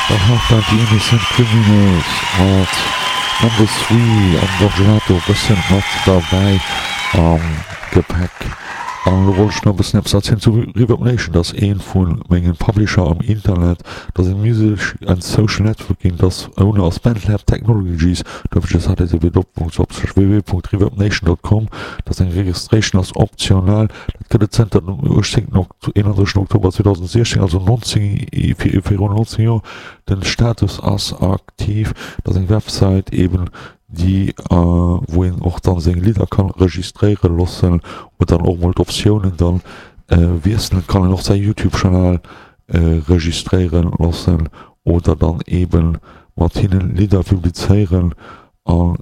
Dann hat dat déi Innocent Criminals mat Number Three an Don Gelato e bëssen mat derbäi am Gepäck. An elo wollt ech nach e bëssen eppes erzielen zu Reverb Nation. Dat ass ee vu mengen Publisher am Internet. Dat ass e Music and Social Networking, dat ass Owner ass BandLab Technologies. Dofir ass http://www.reverbnation.com. Dat ass eng Registration ass optional. Dat gëtt et zënter dem 18. 31. Oktober 2016, also 19, virun 19 Joer. Den Status ass aktiv. Dat ass eng Website eben déi wou een och dann seng Lidder kann registréiere loossen oder dann och mol d'Optiounen dann wiesselen kann. Een och säi Youtube Chanel registréiere loossen oder dann eben mat hinnen Lidder publizéieren. A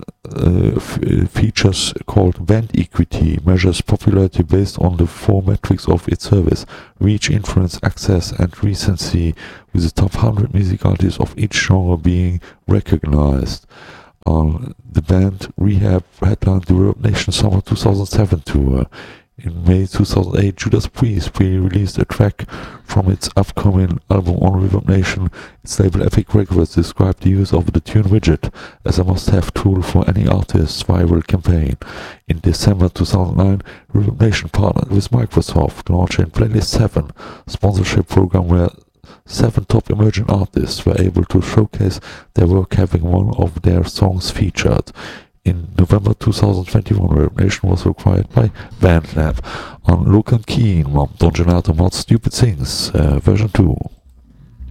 features called Band Equity measures popularity based on the four metrics of its service, reach, influence, access and recency, with the top 100 music artists of each genre being recognized. An the band Rehab headlined the ReverbNation Summer 2007 tour. In May 2008, Judas Priest pre-released a track from its upcoming album on ReverbNation. Its label Epic Records described the use of the Tune Widget as a must-have tool for any artist's viral campaign. In December 2009, ReverbNation partnered with Microsoft, launching Playlist 7 sponsorship program where seven top emerging artists were able to showcase their work having one of their songs featured. In November 2021, ReverbNation was acquired by BandLab. An elo kënnt Keen mam Don Gelato mat Stupid Things, Version 2.